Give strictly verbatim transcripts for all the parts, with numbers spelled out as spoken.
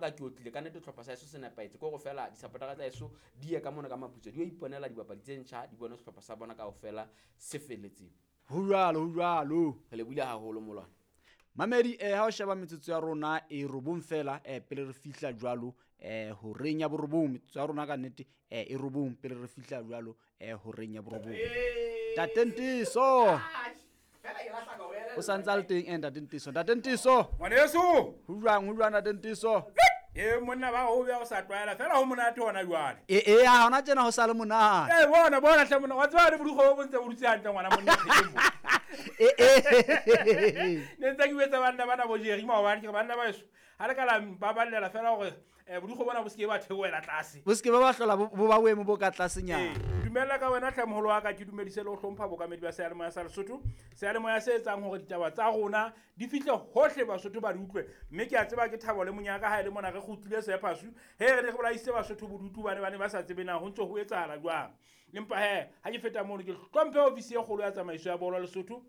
Ka ke otlile ka nnete sehlopha sa heso se nepahetse, ke hore feela di-supporter-a tsa heso di ye ka mona ka maputso, di yo iponela dibapadi tse ntjha, di bone sehlopha sa bona kaofela se felletseng. Ho jwalo, ho jwalo. Re lebohile haholo molwana. Mamedi, eh ha o sheba metsotso ya rona e robong fela, eh pele re fihla jwalo eh horeng ya borobong, metsotso ya rona ka nnete eh e robong pele re fihla jwalo eh horeng ya borobong. Ntate Ntiso. O santse a le teng eh Ntate Ntiso. Ntate Ntiso. Ngwaneso. Ho jwang, ho jwang Ntate Ntiso? E monna ba ho beha o sa tlwaela fela ho monate hona jwale. E e ya hona tjena ho sa le monate. Eh bona bona hle monna wa tseba le bodikgo bo ntse bo dutse hantle ngwana monna thekeng mo. E e. Ne ntse ke betsa banna bana bo Jerry maobane ke re banna ba heso ha le ka la baballela fela hore eh bodikgo bona bo se ke ba theohela tlase. Bo se ke ba ba hlola bo ba boemo bo ka tlasenyana. Ee, dumela ka wena hle moholo wa ka, ke dumedise le ho hlompha bokamedi ba seyalemoya sa Lesotho. Seyalemoya se etsang hore ditaba tsa rona di fihle hohle Basotho ba di utlwe, mme ke a tseba ke thabo le monyaka ha e le mona re kgutlile Sephasu, he re ne re bolaisitse Basotho bodutu bane ba ne ba sa tsebe na ho ntso ho etsahala jwang. Empa he ha ke feta mono ke hlomphe ofisi e kgolo ya tsamaiso ya bolo Lesotho,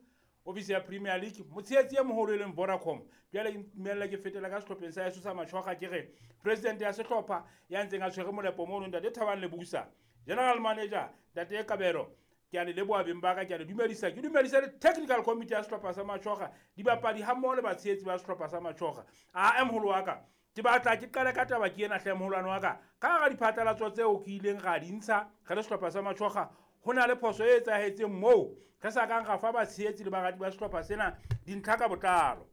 ofisi ya Premier League, motshehetsi e moholo e leng Vodacom. Jwale ke ntumella ke fetela ka sehlopheng sa heso sa Matjhoga, ke re president ya sehlopha ya ntseng a tshwere molepo mono Ntate Thabang Lebusa, general manager Ntate Kabelo, ke a le leboha beng ba ka, ke a le dumedisa, ke dumedisa le technical committee ya sehlopha sa Matjhoga, dibapadi ha mmoho le batshehetsi ba sehlopha sa Matjhoga. A moholo wa ka, ke batla ke qale ka taba ke ena hle moholwane wa ka, ka hara diphatlalatso tseo ke ileng ra di ntsha re le sehlopha sa Matjhoga, ho na le phoso e etsahetseng moo re sa kang ra fa batshehetsi le barati ba sehlopha sena dintlha ka botlalo.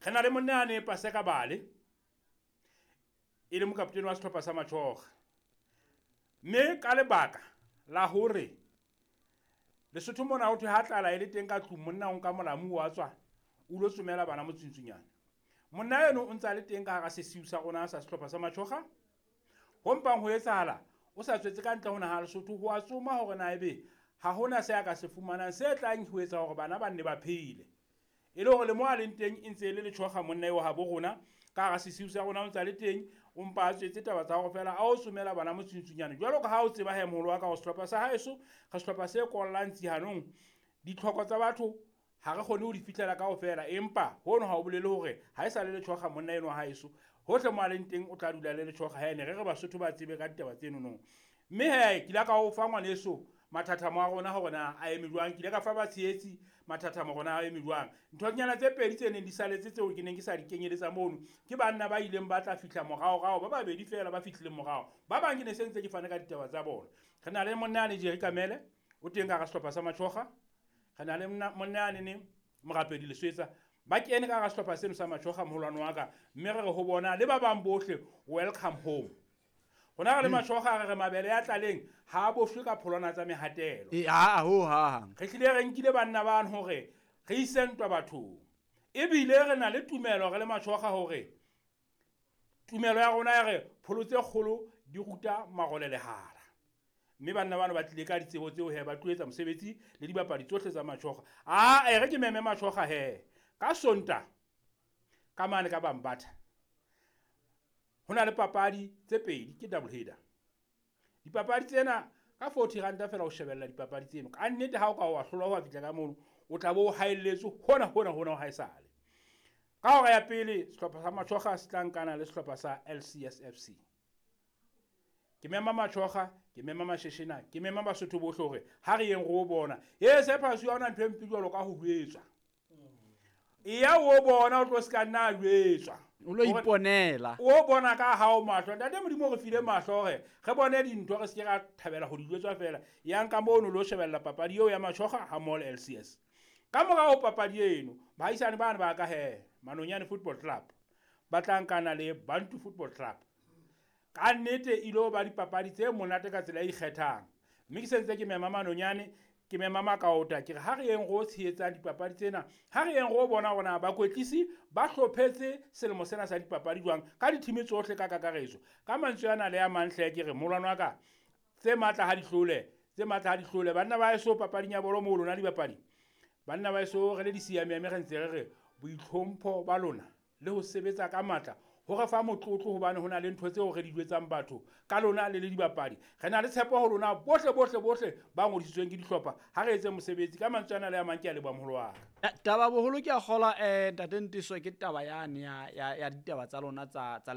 Re na le monna ya ne Paseka Bale, e le mokaptene wa sehlopha sa Matjhoga, mme ka lebaka la hore Lesotho mona ho thwe ha tlala e le teng ka tlung, monna o nka molamu wa tswa o lo tsomela bana motsuntsunyana. Monna eno o ntse a le teng ka hara sesiu sa rona sa sehlopha sa Matjhoga. Ho mpang ho etsahala o sa tswetse ka ntle ho naha Lesotho ho a tsoma hore na ebe ha hona se a ka se fumanang se tlang ho etsa hore bana ba nne ba phele. E le hore le mo a leng teng e ntse e le Letjhoga monna eo habo rona ka hara sesiu sa rona o ntse a le teng, o mpa a tswetse taba tsa hore fela a o tsomela bana motsuntsunyana. Jwalo ka ha o tseba he moholo wa ka, sehlopha sa haeso re sehlopha se kollang tsihanong, ditlhoko tsa batho ha re kgone ho di fihlela kaofela, empa hono ha o bolele hore ha e sa le Letjhoga monna enwa haeso, hohle mo a leng teng o tla dula le Letjhoga. Ha ene re re Basotho ba tsebe ka ditaba tseno no. Mme he ke ile ka o fa ngwaneso mathathamo a rona hore na a eme jwang, ke ile ka fa batshehetsi mathathamo hore na a eme jwang. Nthonyana tse pedi tse neng di saletse tseo ke neng ke sa di kenyeletsa mono ke banna ba ileng ba tla fihla moraorao, ba babedi fela ba fihlileng morao, ba bang ke ne se ntse ke fane ka ditaba tsa bona. Re na le monna yane Jerry Kamele o teng ka hara sehlopha sa Matjhoga, re na le monna yane ne Morapedi Leswetsa, ba kene ka hara sehlopha seno sa Matjhoga moholwane wa ka, mme re re ho bona le ba bang bohle welcome home. Rona re le Matjhoga re re mabele ya tlaleng ha a bohlwe ka pholwana tsa mehatelo. E a ho ha. Re hlile re nkile banna bano hore re ise ntwa bathong, ebile re na le tumelo re le Matjhoga hore tumelo ya rona ya re pholo tse kgolo di ruta marole lehala. Mme banna bano ba tlile ka ditsebo tseo he, ba tlo etsa mosebetsi le dibapadi tsohle tsa Matjhoga. A e re ke meme Matjhoga he ka Sonta ka mane ka Bambatha ho na le papadi tse pedi, ke double header. Dipapadi tsena ka forty ranta fela o shebella dipapadi tseno. Ka nnete ha o ka wa hlolwa ho fihla ka mono, o tla bo o haelletswe hona hona hona ho haesale. Ka hora ya pele sehlopha sa Matjhoga se tla nkana le sehlopha sa L C S F C. Ke mema Matjhoga, ke mema Masheshena, ke mema Basotho bohle hore ha re yeng ro bona. E Sephasu ha hona ntho e mpe jwalo ka ho jwetswa. E ya o bona o tlo se ka nna jwetswa. O lo iponela. O bona ka hao mahlo. Ntate Modimo re file mahlo hore re bone dintho, re se ke ra thabela ho di jwetswa fela. Yang ka mono lo shebella papadi eo ya Matjhoga ha mmoho le L C S. Ka morao ho papadi eno, baahisane bana ba ka he Manonyane Football Club ba tla nkana le Bantu Football Club. Ka nnete e ilo ba dipapadi tse monate ka tsela e ikgethang. Mme ke sentse ke mema Manonyane, ke mema Makaota, ke re ha re yeng ro tshehetsang dipapadi tsena, ha re yeng ro bona hore na bakwetlisi ba hlophetse selemo sena sa dipapadi jwang ka dithimi tsohle ka kakaretso. Ka mantswe ana le a mang hle ke re molwana wa ka, tse matla ha di hlole, tse matla ha di hlole. Banna ba heso papading ya bolo moo lona dibapadi, banna ba heso re le disiamiame re ntse re re boitlhompho ba lona le ho sebetsa ka matla Ho re fa motlotlo hobane ho na le ntho tseo re di jwetsang batho ka lona le le dibapadi. Re na le tshepo ho lona bohle bohle bohle ba ngodisitsweng ke dihlopha. Ha re etse mosebetsi ka mantswe ana le a mang, ke a leboha moholo wa ka. Eh, taba boholo ke a kgola um ntate Nteso ke taba yane ya ya ya ditaba tsa lona tsa tsa